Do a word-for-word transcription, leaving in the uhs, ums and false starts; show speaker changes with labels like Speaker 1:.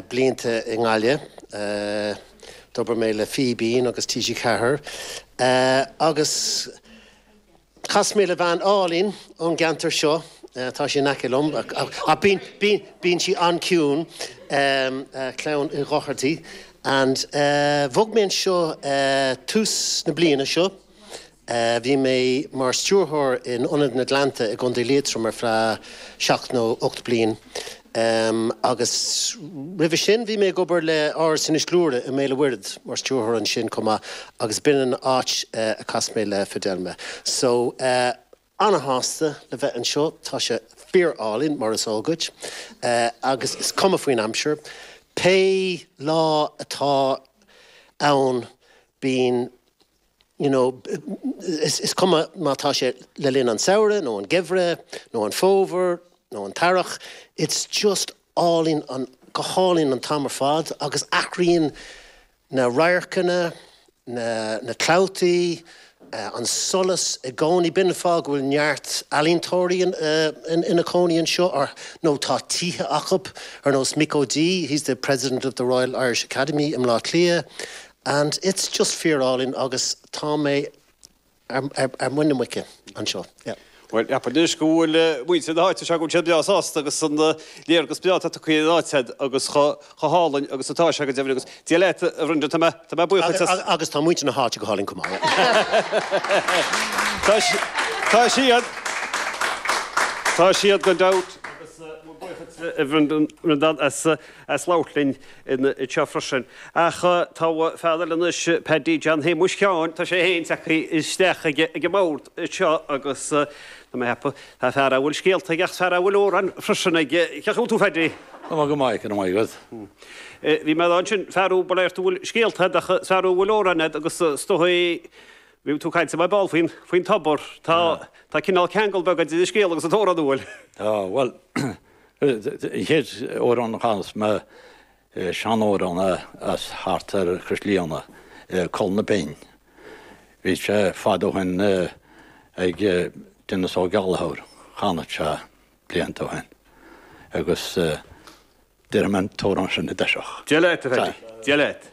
Speaker 1: blianta i nGaillimh. D'obair mé le Fíbín agus T G Ceathair agus chas mé le bhean álainn ón gceantar seo. Tá sí in aice liom, ach bíonn sí an-ciúin, clann Uí Dhochartaigh, and bhog mé anseo tús na bliana seo. Bhí mé mar stiúrthóir in Ionad na nGleannta i gContae Liatroim ar feadh seacht nó ocht bliain. Um, agus roimhe sin bhí mé ag obair le Áras Inis Gluaire i mBéal an Mhuirthead mar stiúrthóir ansin chomh maith, agus b'in an áit uh, a chas mé le Fidelma. So uh, an-shásta le bheith anseo. Tá sé fíorálainn, mar is eol duit, uh, agus is cuma faoin aimsir. Pé lá atá ann, bíonn you know, is, is cuma má tá sé le linn an samhradh nó an geimhreadh nó an fómhar nó an t-earrach, it's just álainn, an go hálainn an t-am ar fad, agus athraíonn na radharcanna, na, na clabhtaí, uh, an solas i gcónaí. B'in fáth go bhfuil neart ealaíontóirí in, uh, in, ina cónaí anseo, or nó tá tithe acu, ar nós Mick O'Dea, he's the president of the Royal Irish Academy i mBleá Cliath, and it's just fíorálainn agus tá mé ar, ar, ar muin na muice anseo. Yeah.
Speaker 2: Well, anois go bhfuil muintir na háite seo, go bhfuil siad breá sásta agus an léargas breá atá acu ar an áit agus chomh hálainn agus atá sé go deimhin. Agus Dia leat, a Bhrendan, tá mé tá mé buíoch
Speaker 1: Agus, agus tá muintir na háite go hálainn chomh maith.
Speaker 2: Tá si- Tá siad Tá siad gan dabht, agus buíochas a Bhrendan as as labhairt linn anseo freisin. Ach tá fear eile anois, Paddy John Shéamuis Sheáin, tá sé féin tagtha isteach ag ag an mbord seo, agus tá mé ag ceapadh tá fear a bhfuil scéalta ach fear a bhfuil amhrán freisin ag ce tú, Paddy.
Speaker 3: Tá go maith, go maith.
Speaker 2: Bhí mé ansin fear ba léir bhfuil scéalta ach fear bhfuil amhrán agus stoí. Bhí tú cainte mai ball faoin faoin tobar. Tá tá cineál ceangal beag idir scéal agus an t-amhrán, bhfuil.
Speaker 3: Tá, bhuel, chéad amhrán a chas mé, seanamhrán as thart ar Chaisleán Col na Binn. Bhí sé fad ó shin ag Denis Ó Gallchóir, chanadh sé blianta ó shin. Agus déarfaidh mé an t-amhrán sin i dtosach.
Speaker 2: Dia leat, Dia leat.